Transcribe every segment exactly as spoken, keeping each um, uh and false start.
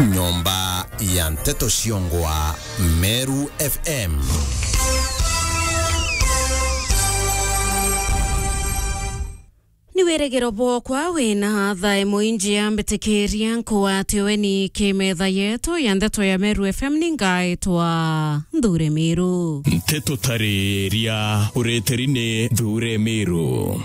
Nyomba ya nteto ciongwa Meru F M. Ni wirigiro bwokwa wina thae mwinji ya mbitikiria nkwatiwe ni kimetha yetu ya nteto ya Meru F M, ni ngaitwa Nthure Miru. Nteto tariria ureteri ni Nthure Miru.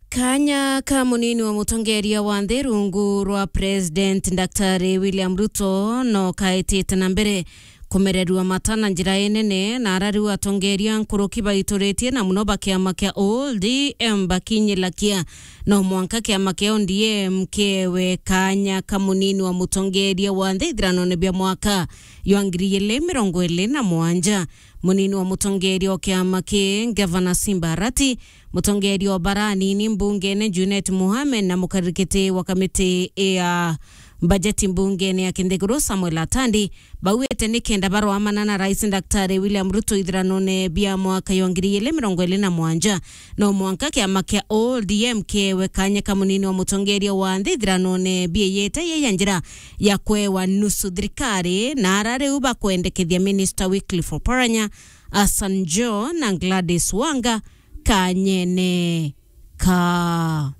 Kanya ka munini wa mutongeria wa nthi rungu rwa President Daktari William Ruto no kaitite na mbere kumererua mata na njira inene, na ara riu atongeria nkuruki baituritie na muno ba kiama kia O D M bakinyilakia no mwanka kiama kia O D M kiewe kanya ka munini wa mutongeria wa nthi ithiranone bia mwaka jwa ngiri igiri mirongo iri na mugwanja. Munini wa mutongeria o kiama ki, Ngavana Simba Arati, mutongeria o bara anini mbungene Junet Mohamed na mukarikiti wa kamiti ya bajeti mbungene ya kinthiguru Samuel Atandi, bauite ni kenda barwamana na Rais Daktari William Ruto ithiranone bia mwaka jwa ngiri igiri mirongo iri na mugwanja, no mwanka kiama kia O D M kiewe kanya ka munini wa mutongeria wa nthi ithiranone bieyete ye ya njira ya kwewa nusu thirikari, na ara riu bakwendekethia Minister Wycliffe Oparanya, Hassan Joho na Gladys Wanga kanyene ka.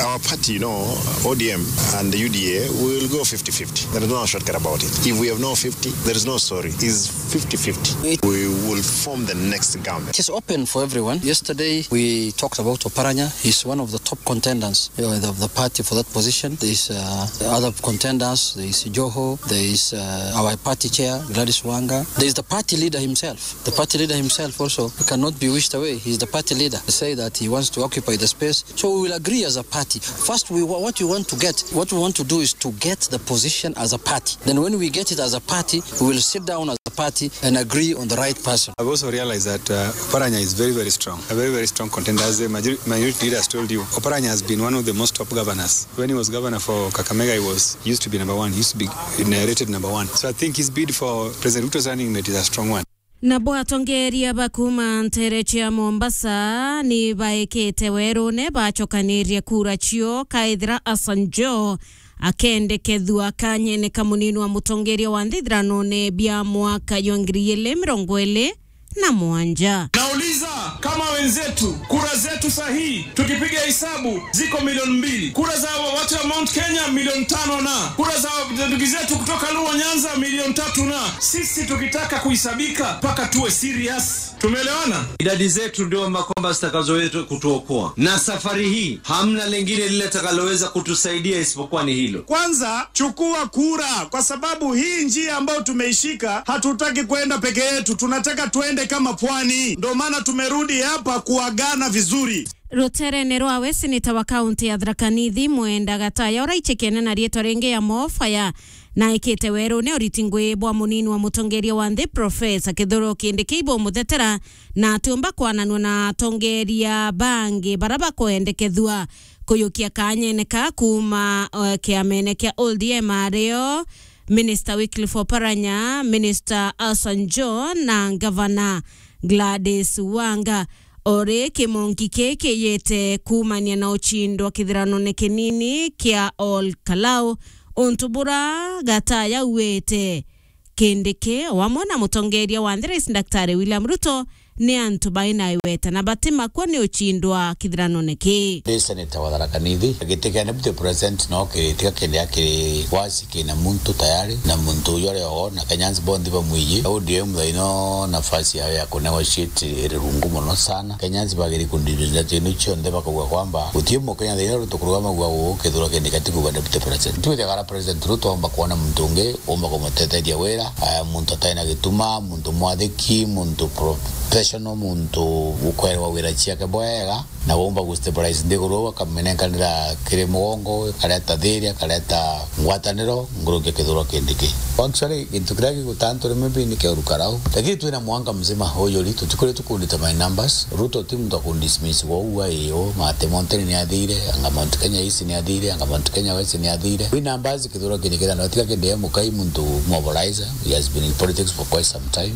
Our party, you know, O D M and the U D A will go fifty fifty. There is no shortcut about it. If we have no fifty, there is no sorry. It's fifty fifty. We will form the next government. It is open for everyone. Yesterday, we talked about Oparanya. He's one of the top contenders, you know, of the party for that position. There is, uh, other contenders. There is Joho. There is, uh, our party chair, Gladys Wanga. There is the party leader himself. The party leader himself also cannot be wished away. He's the party leader. Say that he wants to occupy the space. So we will agree as a party. First, we wa-, what we want to get, what we want to do is to get the position as a party. Then when we get it as a party, we will sit down as a party and agree on the right person. I've also realized that, uh, Oparanya is very, very strong. A very, very strong contender. As the major-, minority leader has told you, Oparanya has been one of the most top governors. When he was governor for Kakamega, he was, he used to be number one. He used to be rated number one. So I think his bid for President Ruto's running mate is a strong one. Nabo atongeria ba kuuma ntere cia Mombasa ni baikite werune bacokanirie kura cio, kaithira Hassan Joho akendekethua kanyene ka munini wa mutongeria wa nthi ithiranone bia mwaka jwa ngiri igiri mirongo iri na mugwanja. Nauliza, kama wenzetu, kura zetu sahihi, tukipiga hesabu, ziko milioni mbili. Kura za watu wa Mount Kenya milioni tano na kura za ndugu zetu kutoka Luo Nyanza milioni tatu na sisi tukitaka kuhisabika mpaka tuwe serious. Tumeelewana? Idadi zetu ndio ma-, kwamba zitakazowetu kutuokoa. Na safari hii, hamna lingine lile litakaloweza kutusaidia isipokuwa ni hilo. Kwanza, chukua kura, kwa sababu hii njia ambayo tumeishika, hatutaki kwenda peke yetu, tunataka tuende kama pwani. Ndio maana tumerudi hapa kuagana vizuri. Ruterene rwawe, seneta wa kaunti ya Tharaka Nithi, Mwenda Gataya, uraichikene na riitwa ringi ya Mofaya, na ikite werune uriti ngui bwa munini wa mutongeria wa nthi, Profesa Kithure Kindiki, ibumuthetera na atiumba kwananua na atongeria bangi bara bakwendekethua kuyukia kanyene ka kuuma, eh, kiamene kia O D M, ario Minister Wycliffe Oparanya, Minister Hassan Joho na Ngavana Gladys Wanga. Ori kimonki kii kiyite kuumania na uchindwa kithiranone kinini kia Ol Kalou, untu bura Gataya auite Kindiki, o amwe na mutongeria wa nthi Rais Daktari William Ruto, ni antu baina iweta na batimakua ni uchindwa kithiranone kii. Ndi seneta wa Tharaka Nithi, giti kia deputy president no kiri tiga kindi akiri wasi kina muntu tayari, na muntu uyu ari o, na Kenyans bonthe bamwiji. O D M thaino nafasi yayo ya kunegotiate iri rungu mono sana. Kenyans bagiri kundithia ndeto ino cionthe bakauga kwamba guti Mukenya thaino rutukuruga magua uu Kithure Kindiki atikuuga deputy president. Twithagara president Ruto omba kwona muntu ungi umba kumutetheria wira, aya, muntu atai na gituma, muntu mwathiki, muntu professional, muntu ukwerwa wira ciake bwega, na waumba gu stabilize nthiguru, akamenenkanira kiri mugongo, ikareta thiria, ikareta ngwataniro nkuruki ya Kithure Kindiki. Actually, gintu kiria gigutantu rimwe bi ni kia Ol Kalou. Lakini twina mwanga mzima uyu ri, tutikuritwe ku determine numbers. Ruto ti muntu akundismiss wa uu aio, Mate Mountain ni athire, anga Mount Kenya East ni athire, anga Mount Kenya West ni athire. Wi numbers Kithure Kindiki na tiga kindi e mukai muntu mobilizer. He has been in politics for quite some time.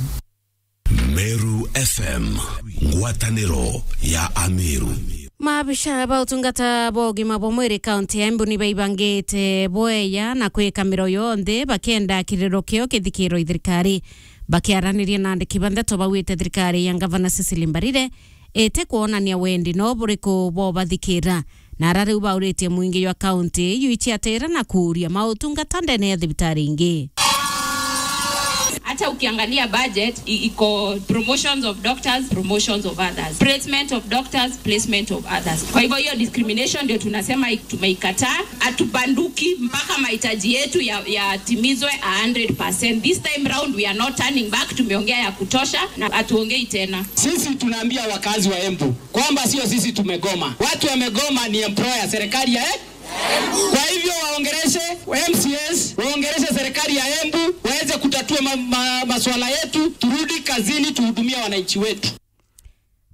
Meru F M, ngwataniro ya Ameru. Maabisha ba utungata bwa ugima bwa mwiri kaunti ya Embu ni baibangite bweya na kwika miro yonthe bakienda kiriro kio kithikirwe i thirikari. Bakiaraniria na andiki ba ndeto, baugite thirikari ya Ngavana Cecily Mbarire iti kwonania wendi no buriku bwa ubathikira, na ara riu bauritie mwingi jwa kaunti iu iciatira na kuuria mautungata ndene ya thibitari ingi. Hata ukiangalia budget, i-, iko promotions of doctors, promotions of others, placement of doctors, placement of others. Kwa hivyo hiyo discrimination ndio tunasema i-, tumeikataa. Hatubanduki mpaka mahitaji yetu ya, yatimizwe a hundred percent. This time round we are not turning back. Tumeongea ya kutosha na hatuongei tena. Sisi tunaambia wakazi wa Embu kwamba sio sisi tumegoma. Watu wamegoma ni employer, serikali ya, eh? Kwa hivyo waongeleshe M C As, waongeleshe serikali ya Embu, waweze kutatua ma, ma, masuala yetu, turudi kazini, tuhudumie wananchi wetu.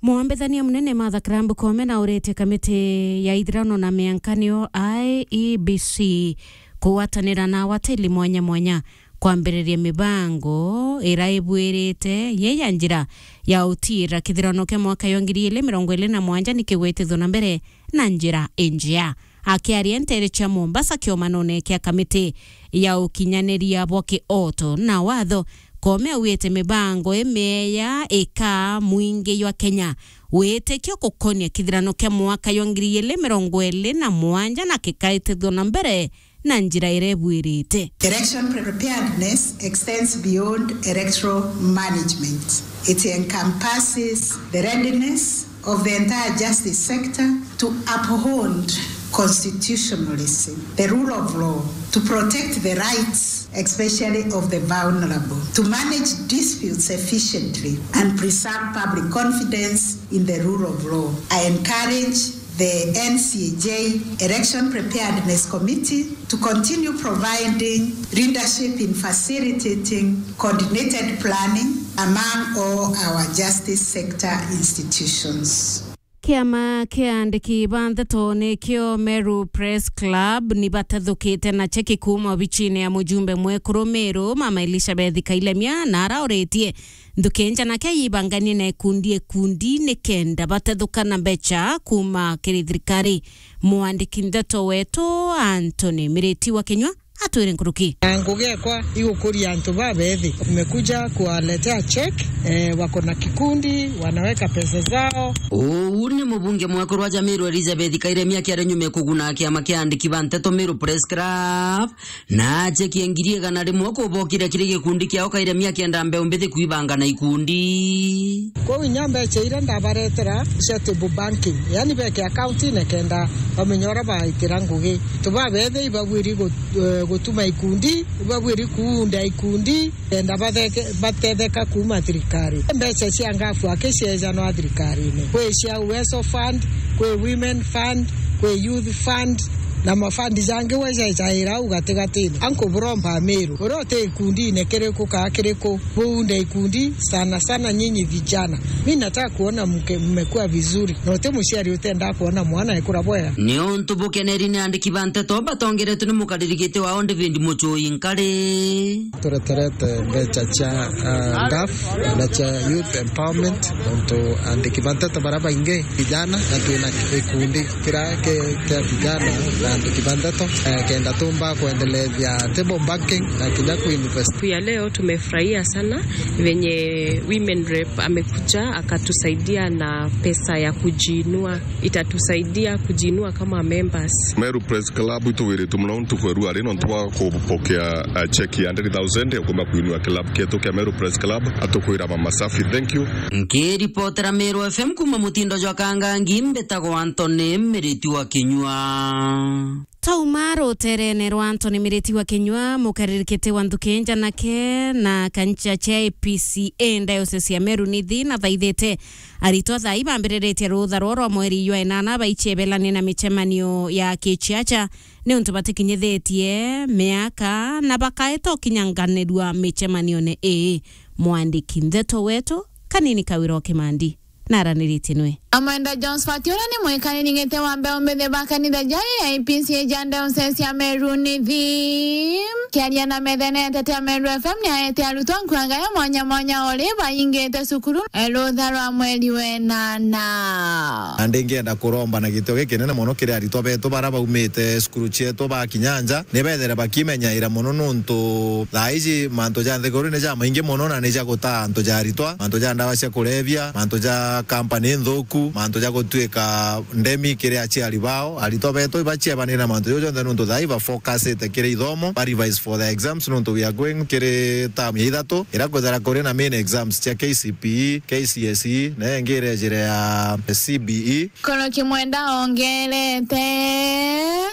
Mwambithania munene Martha Karua Koome nauritie kamiti ya ithirano na miankanio I E B C kugwatanira na awatili mwanya mwanya kwambiriria mibango ira ibwirite ye ya njira ya utiira kithirano kia mwaka ya ngiri ili mirongo ili na mwanja ni kigwitithwe na mbere na njira injea. Akiaria nteere cia Mombasa kiomanone kia kamiti ya ukinyaniria bwa kioto na watho, Koome augite mibango imieya ikaa mwingi jwa Kenya witikio gukonia kithirano kia mwaka jwa ngiri ili mirongo ili na mwanja na kikaitithwa na mbere na njira iria ibwirite. Election preparedness extends beyond electoral management. It encompasses the readiness of the entire justice sector to uphold constitutionalism, the rule of law, to protect the rights, especially of the vulnerable, to manage disputes efficiently and preserve public confidence in the rule of law. I encourage the N C A J Election Preparedness Committee to continue providing leadership in facilitating coordinated planning among all our justice sector institutions. Kiama kia andiki ba ndeto nikio Meru Press Club ni batethukite na cheki kuuma obichine ya mujumbe mwekuru Meru, Mama Elizabeth Kailemia, na arauritie nthuki njanake yibanganie na ikundi ikundi nikenda batethuka na mbecha kuuma kiri thirikari. Mwandiki ndeto wetu Anthony Miriti wa Kinyua atwire nkuruki. Na ngugi ekwa igukuria antu babethi. Nimekuja kuwaletea check, eh, wako na kikundi, wanaweka pesa zao. Uu ni mubunge mwekuru wa Meru Elizabeth Kailemia akiaria nyuma ya kuguna kiama kia andiki ba nteto Meru Press Club, na cheki ya ngiri igana rimwe kubokire kiri gikundi kiao Kailemia akienda mbeu mbithi kuibanga na ikundi. Kwou inya mbecha iria ndabaretera cia table banking, yani beke account-ine kenda bamenya uria baitira ngugi. Tubabethi ibabwiri gu-, eh, gutuma ikundi, ibabwiri kuunda ikundi, kenda batheke-, batetheka kuuma thirikari. Mbecha cia ngafu aki ciejanwa thirikarine. Kwi cia Uwezo Fund, kwi Women Fund, kwi Youth Fund, na mafandi jangi we jejaira au gatigatine. Anku buromba Meru, uria uti ikundine kiriku kaa kiriku, buunde ikundi, sana sana nyinyi vijana. Mi nataka kuona mke-, mmekuwa vizuri. Na uti muciari utenda kuona mwana ekura bwega. Ni untu bukeneri ni andiki ba nteto batongeretwe ni mukariri giti wao David Muchui Nkari. Tureterete mbecha cia, ah, ngafu na cia youth empowerment, nontu andiki ba nteto baria baingi vijana, na twina gikundi kiria ki-, kia vijana na andiki ba nteto, eh, kenda tumba kwendelethia table banking na kinya kuinvest. Siku ya leo tumefurahia sana venye women rep amekuja akatusaidia na pesa ya kujiinua. Itatusaidia kujiinua kama members. Meru Press Club ituwiritwe muno ntuku ya ruari nontu bwa kupokea, uh, cheki ya hundred thousand ya kuuma kuinua club kietu kia Meru Press Club, atukwira mama safi. Thank you. Nkiripotera Meru F M kuuma mutindo jwa Kangangi, mbitagwa Anthony Miriti wa Kinyua. Tauma ruterene rwa Anthony Miriti wa Kinyua, mukariri kiti wa nthuki njanake na kancha cia A P C A diocese ya Meru Nithi na thaithite aritwa thaa ibambiriritie rutha rwo rwa mweri jwa enana baichebelane na michemanio ya kichiacha niuntu batikinyithitie miaka na bakaeta ukinyanganirua michemanione ii. Mwandiki ndeto wetu Kanini Kawira o Kimandi naraniritie nwe. Amwenda Jones Fati uria ni mwikari ningite wa mbeu mbithi ba kanitha ja A P C A ja diocese ya Meru Nithi. Kiaria na metha ya Nteto ya Meru F M ni aete arutwa nkuaga ya mwanya mwanya ori baingite cukuru, eh, rutha rwa mweri wenana. Na ndingienda kuromba na gitio gikinene mono kiri aritwa betu bara baumite cukuru cietu bakinya nja, ni bethere bakimenyaira mono nuntu thaa iji mantu ja nthiguru ni ja maingi mono na ni ja gutaa antu ja aritwa, mantu ja ndawa cia kulevya, mantu ja company nthuku, mantu ja gutuika ndemi kiri aciari bao. Aritwa betu ibaciebanira mantu jau jonthe nuntu thaa ii bafocusite kiri ithomo, ba revise for the exams nuntu we are going kiri term ya ithatu, ira kwithira kuri na main exams cia K C P E, K C S E, na ingi irejire ya C B E. Koroki Mwenda ongerete.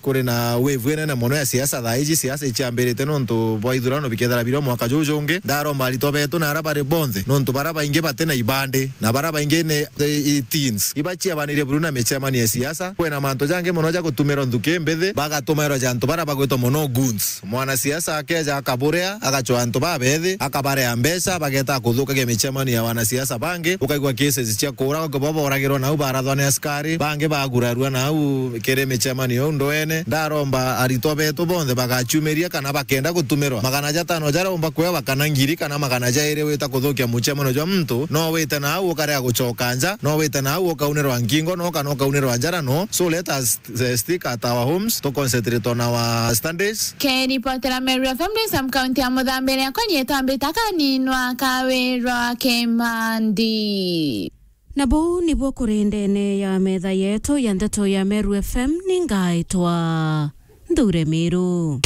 Kuri na wave inene mono ya siasa thaa iji. Siasa iciambirite nuntu bwa ithurano bikethira biri o mwaka juu jungi. Ndaromba aritwa betu na ara bari bonthe, nuntu bara baingi bati na ibandi, na bara baingi ni, i, i teens. Ibaciabanirie buru na micemanio ya siasa. Kwina mantu jangi mono ja gutumirwa nthuki mbithi, bagatumirwa ja antu bara bagwitwa mono goons. Mwanasiasa akeja akaburea, agacwa antu babethi, akabarea mbeca, bageta kuthukagia micemanio ya wanasiasa bangi, ukaigua cases cia kuura, ukaigua boragirwa nau, barathwa ni askari, bangi bagurarua nau kiri micemanio iu ndwene. Ndaromba aritwa betu bonthe bagacumiria kana bakenda gutumirwa magana jatano jaraumba kwewa kana ngiri kana magana jairi wita kuthukia mucemanio jwa muntu, no wite nau ukarega gucoka nja, no wite nau ukaunirwa nkingo, no kana ukaunirwa njara, no. So let us, eh, stick at our homes, to concentrate on our studies. Keripotera Meru F M ndi Sam County ya Muthambiria, akwa nyetambita kaninwa kawirwa Kimandi. Na buu nibuo kuri ndene ya metha yetu ya ndeto ya Meru F M, ni ngaitwa Nthure Miru.